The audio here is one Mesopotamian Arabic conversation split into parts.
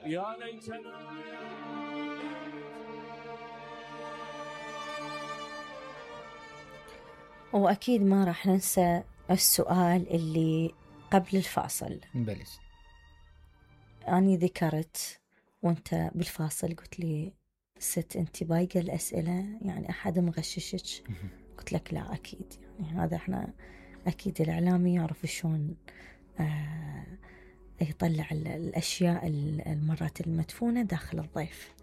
يا ليتنا. وأكيد ما راح ننسى السؤال اللي قبل الفاصل. بلس أني ذكرت وانت بالفاصل قلت لي ست انت بايقة الأسئلة، يعني أحد مغششك؟ قلت لك لا أكيد، يعني هذا احنا أكيد الإعلامي يعرف شلون يطلع الأشياء المرات المدفونة داخل الضيف.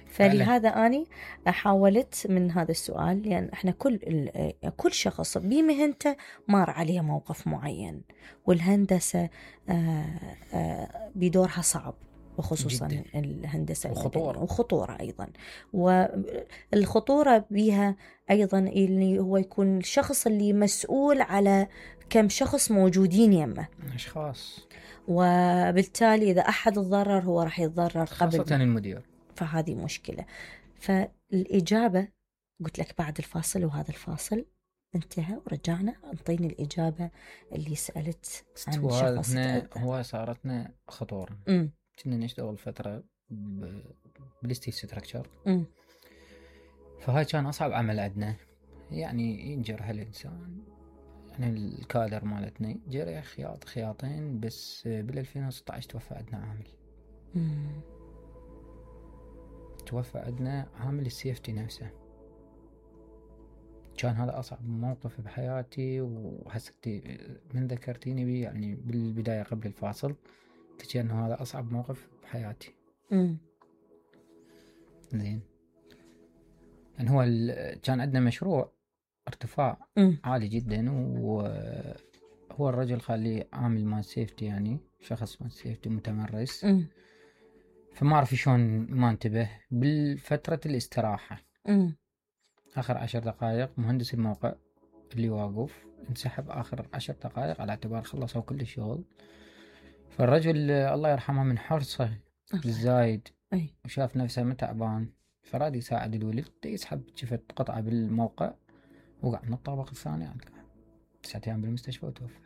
فلهذا أنا حاولت من هذا السؤال، لأن يعني احنا كل شخص بمهنته مر عليه موقف معين، والهندسة بدورها صعب، وخصوصا جداً. الهندسة وخطورة أيضا، والخطورة بها أيضا اللي هو يكون الشخص اللي مسؤول على كم شخص موجودين يمه أشخاص، وبالتالي إذا أحد تضرر هو راح يتضرر قبل خاصة المدير. فهذه مشكلة. فالإجابة قلت لك بعد الفاصل، وهذا الفاصل انتهى ورجعنا انطيني الإجابة اللي سألت عن شخص. هو صارتنا خطورة. كنا نشتغل فترة بالستيل ستراكشر، فهاي كان أصعب عمل عندنا، يعني ينجرح الإنسان، يعني الكادر مالتنا جرح خياطين بس. بال2016 توفى عندنا عامل. توفى عندنا عامل السيفتي نفسه. كان هذا أصعب موقف بحياتي، وحسيت من ذكرتيني بي يعني بالبداية قبل الفاصل تجي أنه هذا أصعب موقف بحياتي. زين، يعني هو كان عندنا مشروع ارتفاع عالي جدا، وهو الرجل خليه عامل مال سيفتي، يعني شخص مال سيفتي متمرس. فما أعرف شلون ما انتبه بالفترة الاستراحة. آخر 10 دقائق مهندس الموقع اللي واقف انسحب آخر 10 دقائق على اعتبار خلصوا كل الشغل. فالرجل الله يرحمه من حرصه الزايد وشاف نفسه متعبان، فراد يساعد الولد، يسحب شفت قطعة بالموقع وقع من الطابق الثاني. 9 أيام بالمستشفى وتوفى.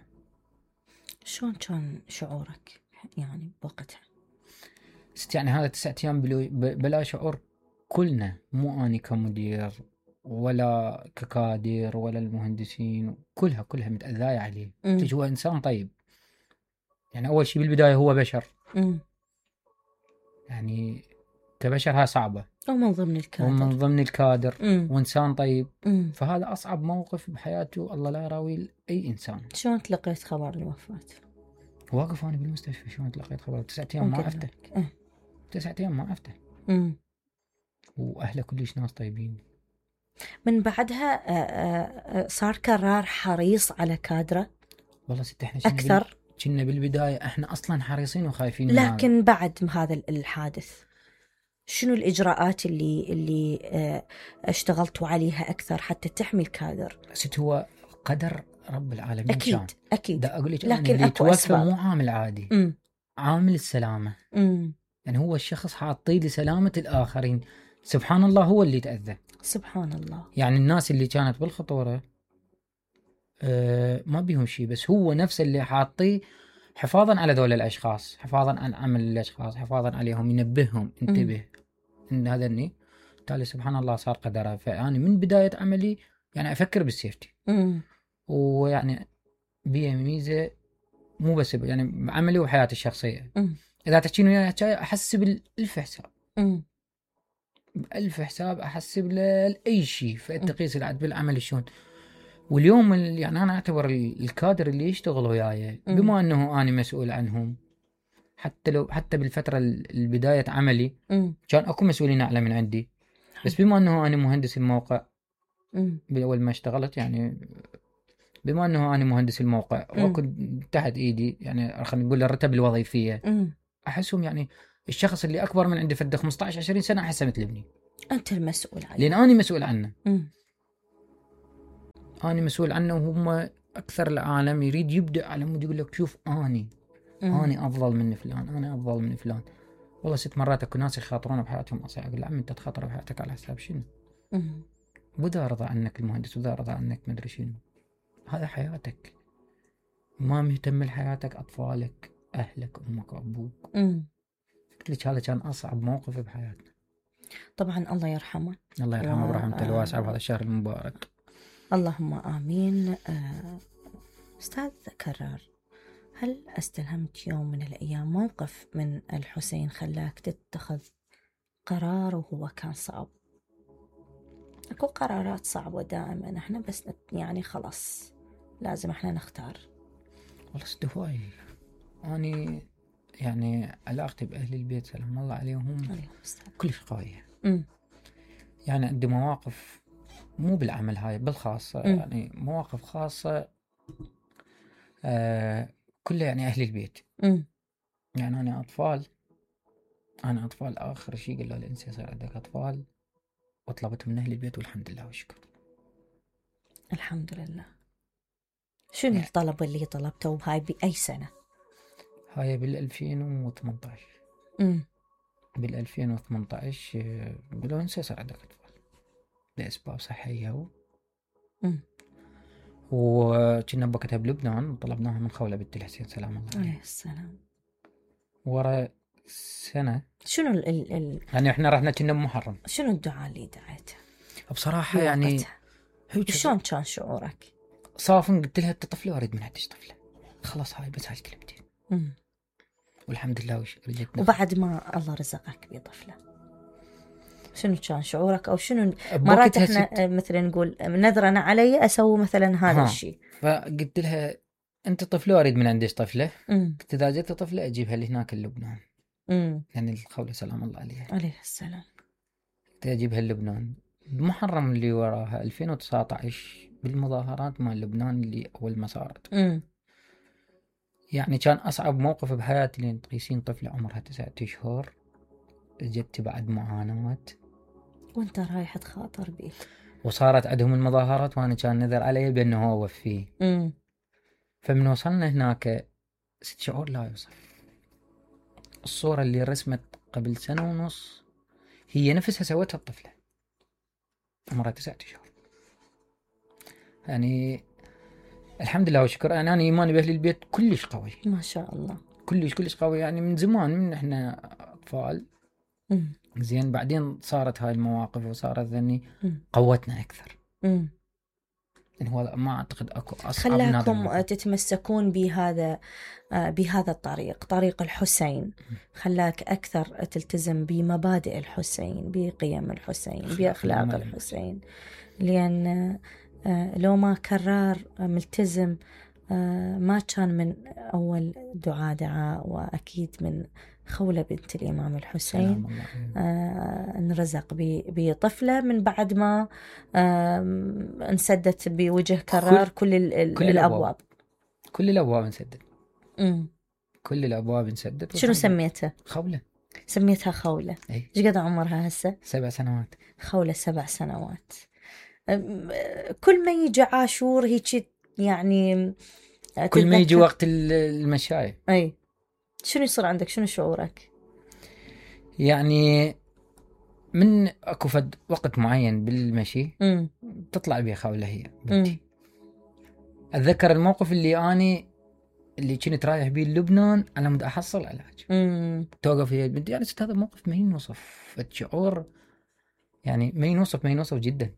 شلون كان شعورك يعني بوقتها؟ يعني هذا 9 أيام بلا شعور كلنا، مو أني كمدير ولا ككادر ولا المهندسين، كلها متأذية عليه. هو إنسان طيب، يعني أول شيء بالبداية هو بشر. يعني كبشر ها صعبة، ومن ضمن الكادر وإنسان طيب. فهذا أصعب موقف بحياته، الله لا يراوي أي إنسان. شلون تلقيت خبر الوفاة؟ واقف أنا بالمستشفى، شلون تلقيت خبر؟ 9 أيام ما عرفته. 9 أيام ما عرفته. وأهله كلش ناس طيبين. من بعدها صار قرار حريص على كادره. والله ست احنا أكثر كنا بالبداية احنا أصلا حريصين وخايفين، لكن بعد هذا الحادث شنو الإجراءات اللي اشتغلتوا عليها أكثر حتى تحمي الكادر؟ ست هو قدر رب العالمين. أكيد دا أقول لك، لكن اللي توفى مو عامل عادي. عامل السلامة. يعني هو الشخص حاطي لسلامة الآخرين. سبحان الله هو اللي تأذى. سبحان الله. يعني الناس اللي كانت بالخطورة ما بيهم شيء، بس هو نفس اللي حاطيه حفاظا على ذول الأشخاص، حفاظا عن عمل الأشخاص، حفاظا عليهم، ينبههم انتبه إن هذا الني. بالتالي سبحان الله صار قدره. فأنا من بداية عملي يعني أفكر بالسيفتي، ويعني بيه ميزة مو بس يعني عملي وحياتي الشخصية. إذا تحكين وياي أحسب الألف حساب، بألف حساب أحسب لأي شيء. فأتقيس العد بالعمل شلون. واليوم يعني أنا أعتبر الكادر اللي يشتغل وياي بما أنه أنا مسؤول عنهم، حتى بالفترة البداية عملي كان أكو مسؤولين أعلى من عندي، بس بما أنه أنا مهندس الموقع بأول ما اشتغلت، يعني بما أنه أنا مهندس الموقع وكنت تحت إيدي، يعني خلينا نقول الرتب الوظيفية، أحسهم يعني الشخص اللي أكبر من عندي فده 15-20 سنة أحسه مثل ابني. أنت المسؤول عنه، لأن أنا مسؤول عنه. أنا مسؤول عنه، وهم أكثر العالم يريد يبدأ على مود يقول لك شوف أنا أفضل من فلان، أنا أفضل من فلان. والله 6 مرات أكو ناس يخاطرون بحياتهم أصيح. أقول عم أنت تخاطر بحياتك على حساب شنو؟ وذا رضى عنك المهندس، وذا رضى عنك مدري شنو. هذا حياتك، ما مهتم لحياتك أطفالك، أهلك، أمك وأبوك. قلت لك هذا كان أصعب موقف بحياتنا. طبعا الله يرحمه. الله يرحمه برحمته الواسعة بهذا الشهر المبارك. اللهم آمين. أستاذ كرار، هل استلهمت يوم من الأيام موقف من الحسين خلاك تتخذ قرار وهو كان صعب؟ أكو قرارات صعبة دائما احنا بس يعني خلاص لازم احنا نختار. والله هواي أنا يعني علاقتي بأهل البيت سلام الله عليهم كلش قوية. يعني عندي مواقف مو بالعمل هاي بالخاصة يعني مواقف خاصة كلها يعني أهل البيت. يعني أنا أطفال آخر شيء قال له الإنسان يصير عندك أطفال وطلبت من أهل البيت والحمد لله والشكر. الحمد لله. شنو يعني الطلب اللي طلبته وهاي بأي سنة؟ هاي بال2018. بال2018 قالوا إنسان يصير عندك أطفال لأسباب صحية وكنا بوقتها بلبنان وطلبناها من خولة بنت الحسين سلام الله عليه السلام. ورا سنة شنو يعني احنا رحنا كنا بمحرم. شنو الدعاء اللي دعيته؟ بصراحة يعني شلون كان شعورك؟ صافن قلت لها طفلة واريد من عندك طفلة خلاص هاي بس هاي كلمتين. والحمد لله رجعت. وبعد ما الله رزقك بطفلة شنو كان شعورك او شنو؟ مرات احنا مثلا نقول نذرنا علي اسوي مثلا هذا الشيء. فقلت لها انت طفلة واريد من عندك طفلة. قلت اذا جت طفلة اجيبها لهناك اللبنان. يعني الخولة سلام الله عليها عليه السلام. قلت اجيبها لبنان بمحرم اللي وراها 2019 بالمظاهرات مال لبنان اللي اول ما صارت. يعني كان اصعب موقف بحياتي لين تقيسين طفلة عمرها 9 أشهر جت بعد معاناة وانت رايح تخاطر بيه وصارت عندهم المظاهرات وانا كان نذر علي بانه هو وفيه. فمن وصلنا هناك شعور لا يوصف. الصورة اللي رسمت قبل 1.5 سنة هي نفسها سوتها الطفلة عمرها 9 أشهر. يعني الحمد لله وشكر. يعني أنا إيماني بأهل البيت كلش قوي ما شاء الله. كلش قوي. يعني من زمان من إحنا أطفال. زين بعدين صارت هاي المواقف وصارت ذني قوتنا أكثر. يعني هو ما أعتقد أكو أصعب من هذا. خلاكم تتمسكون بهذا الطريق، طريق الحسين، خلاك أكثر تلتزم بمبادئ الحسين، بقيم الحسين، بأخلاق الحسين. لأن لو ما كرار ملتزم ما كان من أول دعاء وأكيد من خولة بنت الإمام الحسين انرزق بطفلة من بعد ما انسدت بوجه كرار كل الأبواب. كل الأبواب انسدت. كل الأبواب انسدت. شنو سميتها؟ خولة. سميتها خولة. ايش قد عمرها هسه؟ 7 سنوات. خولة 7 سنوات. كل ما يجي عاشور هيك يعني كل ما يجي وقت المشاي اي شنو يصير عندك؟ شنو شعورك؟ يعني من اكو فد وقت معين بالمشي تطلع بيه خولة هي بنتي. اتذكر الموقف اللي كنت رايح بيه لبنان على مود احصل علاج. توقف هي بنتي. يعني هذا موقف ما ينوصف. الشعور يعني ما ينوصف جدا.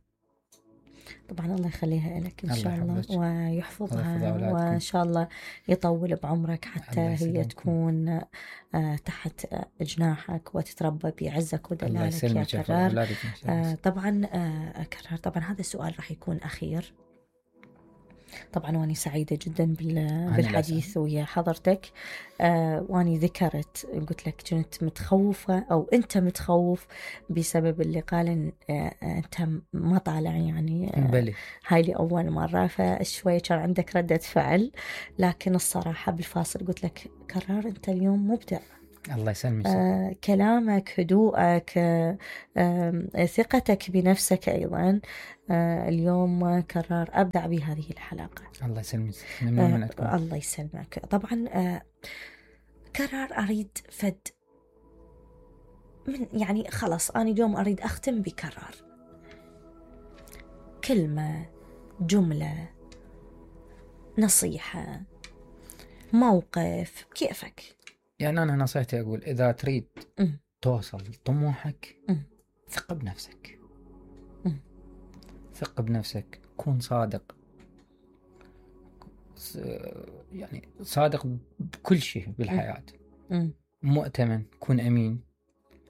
طبعا الله يخليها لك إن شاء الله ويحفظها وإن شاء الله يطول بعمرك حتى هي تكون تحت جناحك وتتربى بعزك ودلالك يا كرار. طبعا كرار طبعا هذا السؤال راح يكون أخير. طبعا واني سعيدة جدا بالحديث ويا حضرتك. واني ذكرت قلت لك كنت متخوفة أو أنت متخوف بسبب اللي قال أنت ما طالع يعني هاي لي أول مرة فشوية كان عندك ردة فعل. لكن الصراحة بالفاصل قلت لك كرار أنت اليوم مبدع. الله يسلمك. كلامك، هدوءك، ثقتك بنفسك أيضا اليوم كرار أبدع بهذه الحلقة. الله يسلمك. الله يسلمك. طبعا كرار أريد فد من يعني خلاص أنا اليوم أريد أختم بكرار كلمة، جملة، نصيحة، موقف، كيفك. يعني أنا نصيحتي أقول إذا تريد توصل طموحك ثق بنفسك. ثق بنفسك، كون صادق، يعني صادق بكل شيء بالحياة. مؤتمن، كون أمين،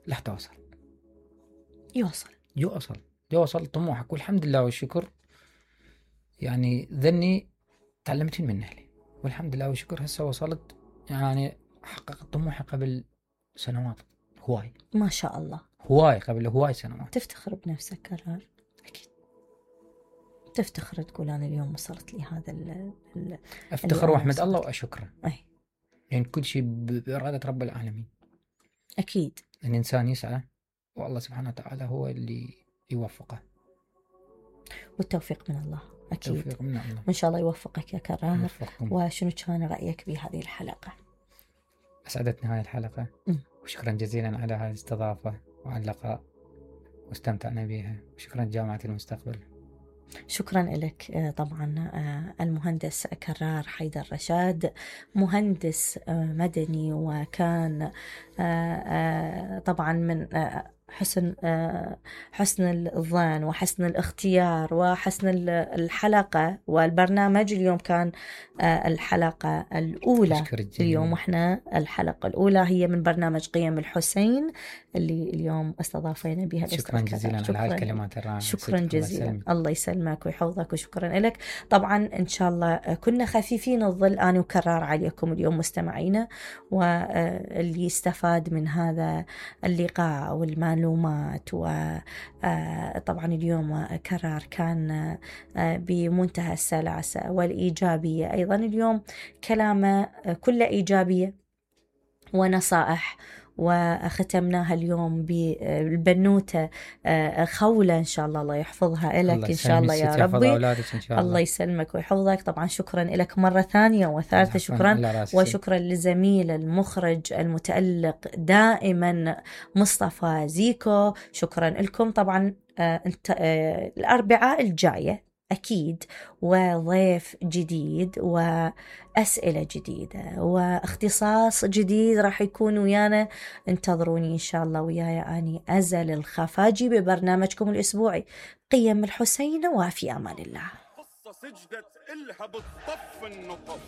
راح توصل. يوصل طموحك. والحمد لله والشكر، يعني ذني تعلمت من أهلي، والحمد لله والشكر هسه وصلت، يعني حققت طموحي قبل سنوات هواي. ما شاء الله، قبل هواي سنوات. تفتخر بنفسك كرار؟ أكيد تفتخر تقول أنا اليوم وصلت لي هذا أفتخر وأحمد الله وأشكره. يعني كل شيء بإرادة رب العالمين. أكيد الإنسان يسعى والله سبحانه وتعالى هو اللي يوفقه، والتوفيق من الله. أكيد التوفيق من الله، وإن شاء الله يوفقك يا كرار. وشنو كان رأيك بهذه الحلقة؟ أسعدتني هاي الحلقة، وشكرا جزيلا على هذه الاستضافة وعلى اللقاء، واستمتعنا بها. وشكرا جامعة المستقبل. شكرا لك. طبعا المهندس كرار حيدر رشاد، مهندس مدني، وكان طبعا من حسن الظن وحسن الاختيار وحسن الحلقة. والبرنامج اليوم كان الحلقة الأولى اليوم، وإحنا الحلقة الأولى هي من برنامج قيم الحسين اللي اليوم استضافينا بها. شكرا جزيلا على هاي الكلمات الرائعة. شكرا جزيلا، الله يسلمك ويحفظك، وشكرا لك. طبعا إن شاء الله كنا خفيفين الظل أنا وكرار عليكم اليوم مستمعينا، واللي استفاد من هذا اللقاء والمعلومات. وطبعا اليوم كرار كان بمنتهى السلاسة والإيجابية. أيضا اليوم كلامه كله إيجابية ونصائح، وختمناها اليوم بالبنوتة خولة إن شاء الله يحفظها لك إن شاء الله يا ربي. الله يسلمك ويحفظك. طبعا شكرا لك مرة ثانية وثالثة، شكرا. وشكرا للزميل المخرج المتألق دائما مصطفى زيكو، شكرا لكم. طبعا الأربعاء الجاية أكيد وضيف جديد وأسئلة جديدة واختصاص جديد راح يكون ويانا. انتظروني إن شاء الله وياي أني أزل الخفاجي ببرنامجكم الأسبوعي قيم الحسين، وفي أمان الله. قصة سجدت إلها بالطف النطف.